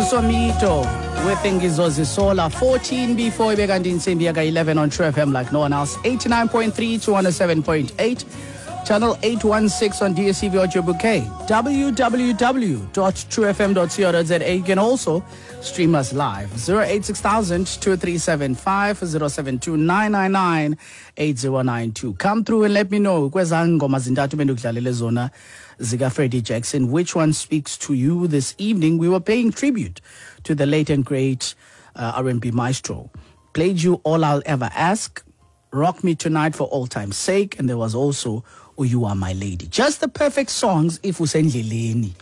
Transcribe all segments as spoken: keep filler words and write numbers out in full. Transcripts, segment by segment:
Somito with Ngizozisola. fourteen before ibe kanti intsimbi yaka eleven on True F M like no one else. eighty-nine point three to one oh seven point eight. Channel eight one six on D S T V Audio Bouquet. w w w dot true f m dot co dot z a. You can also stream us live. zero eight six thousand two three seven five zero seven two nine nine nine eight zero nine two. Come through and let me know. Kweza ngoma zintathu bendikudlalele zona zika Freddie Jackson. Which one speaks to you this evening? We were paying tribute to the late and great uh, R and B maestro. Played you All I'll Ever Ask, Rock Me Tonight for All Time's Sake, and there was also Oh, You Are My Lady. Just the perfect songs if usendleleni.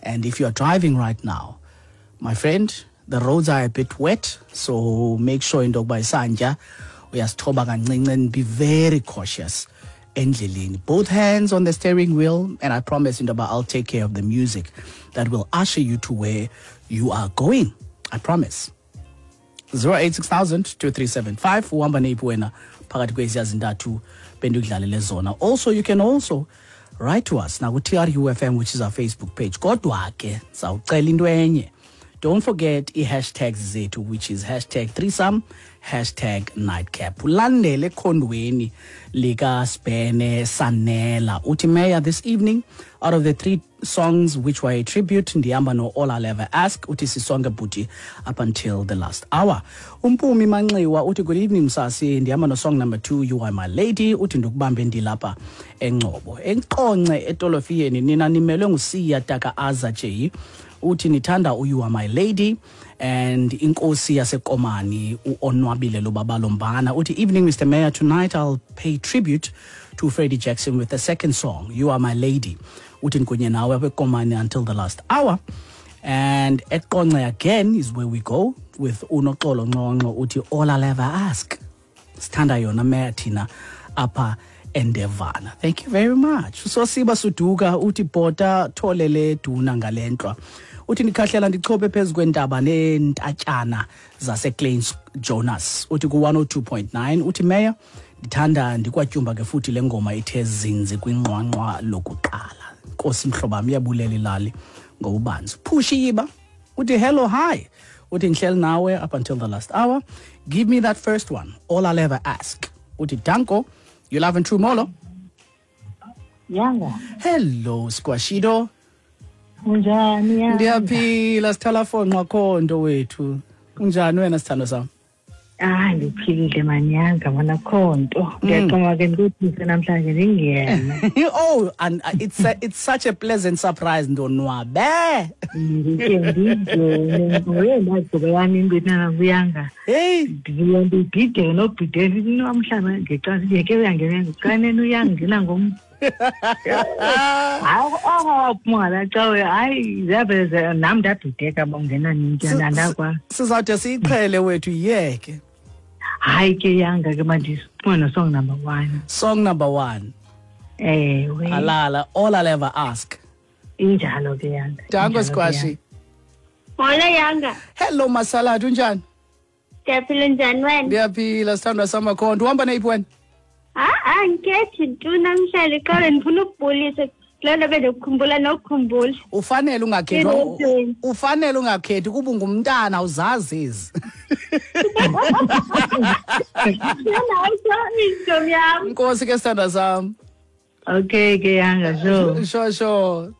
And if you're driving right now, my friend, the roads are a bit wet, so make sure into yokuba isantya uyasithoba kancinci and be very cautious endleleni. Both hands on the steering wheel, and I promise into yokuba I'll take care of the music that will usher you to where you are going. I promise. zero eight six thousand two three seven five uhamba neyiphi wena phakathi kweziya zintathu bendikudlalele zona. Also, you can also write to us now T R U F M, which is our Facebook page. Kodwa ke sawucela into enye. Don't forget i-hashtags zethu, which is hashtag threesome, hashtag nightcap. Ulandele ekhondweni lika Spene Sanela. Uthi Mayor, this evening, out of the three songs which were a tribute, ndihamba no All I'll Ever Ask, uthi sisonke bhuti up until the last hour. Umpumi Manxiwa uthi good evening msasi, ndihamba no song number two, You Are My Lady, uthi ndikubambe ndilapha eNgcobo. Enqonce etolofiyeni nina nimelwe nguSiya Taka Aza J. Uthi nithanda u You Are My Lady and inkosi yaseKomani uOnwabile Lobabalombana. Uthi evening Mister Mayor, tonight I'll pay tribute to Freddie Jackson with the second song, You Are My Lady. Uthi nkunye nawe apha eKomani until the last hour. And eQonce again is where we go with uNoxolo Nqonqo uthi All I'll Ever Ask. Sithanda yona Mayor thina apha Endevana. Thank you very much. Sosiba Suduka uthi bhota tholele duna ngalentlwa. Uthi ndikhahlela ndichophe phezu kwentaba neentatshana zaseKlein Jonas. Uthi ku one oh two point nine uthi Mayor ndithanda ndikwatyumba ke futhi le ngoma ithe zinzi kwinqwanqwa lokuqala. Nkosi mhlobo iyabulela ilali ngobubanzi. Phushiba uthi hello hi. Uthi ngihleli nawe up until the last hour. Give me that first one. All I'll Ever Ask. Uthi danko. You love and true molo. Yanga. Hello Squashido. Unjani Yanga? Ndiyaphila sithala fonqa khonto wethu. Unjani wena sithando sami? Ah, ndiphilile manyanga mana khonto. Ndiyaqonga ke ndikuthise namhlanje ndingena. Oh, and it's a, it's such a pleasant surprise ndonwabe. Ndike ndingene wena gcobe yami ingwena kuyanga. Hey, ndiyandibhideke nobhideke namhlanje ngexa ndiyeke uyangena ngiqaneni uyangena ngom. Hayi oh mwana xa hayi ziyaveze nami ndabhideka bongena nintana ndakwa. Sizawude siyiqhele wethu yeke. Hayi ke Yanga ke manje sifuna song number one. Song number one. Ewe. Alala, All I'll Ever Ask. Injalo ke Yanga. Danko Squashi. Hola Yanga. Hello Masalad, unjani? Ndiyaphila njani wena? Ndiyaphila sithandwa samakhonto. Uhamba neyiphi wena? Ah, angikhethi tu namhlanje qale ndifuna ukubulisa. Lelo bendikukhumbula nokukhumbula. Ufanele ungakhethi. Ufanele ungakhethi kuba ungumntana uzazi ezi. Nkosi ke sithandwa sami. Okay ke Yanga, sure. Sure sure.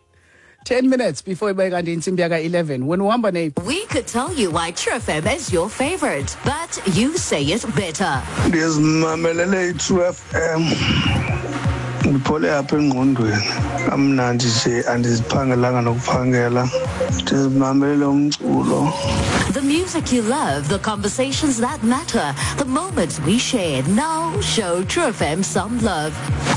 ten minutes before ibe kanti intsimbi yaka eleven. When uhamba neyiphi? We could tell you why True F M is your favorite, but you say it better. Ndizimamelele i-True F M. Ndiphole apha engqondweni. Kamnandi nje andiziphangelanga nokuphangela. Ndizimamelele umculo. The music you love, the conversations that matter, the moments we share. Now show True F M some love.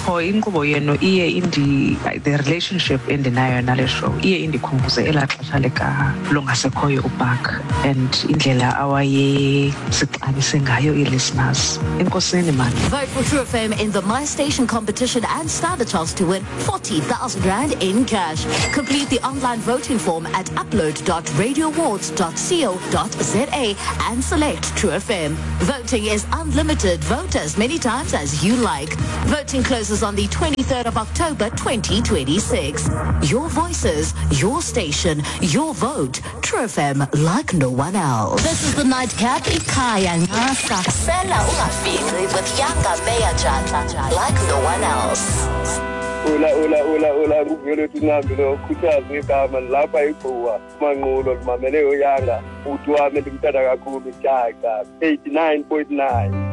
Oh, inkqubo yenu iye indi the relationship endinayo nale show iye indikhumbuze elaa xesha lika longasekhoyo uBark and indlela awayesixabise ngayo ii-listeners. Enkosini man. Vote for True F M in the My Station competition and stand a chance to win forty thousand. thousand rand in cash. Complete the online voting form at upload dot radio awards dot co dot za and select True F M. Voting is unlimited. Vote as many times as you like. Voting closes on the twenty-third of October twenty twenty-six. Your voices, your station, your vote. True F M, like no one else. This is the Nightcap. Ikhaya Ngasa. Sela Ungafici with Yanga Meya Jata, like no one else. Ula ula ula ula nguvele uNcambi lo khuthaza igama lapha igquwa manqulo limamele uYanga uthi wami ndimthanda kakhulu jaca eighty-nine point nine.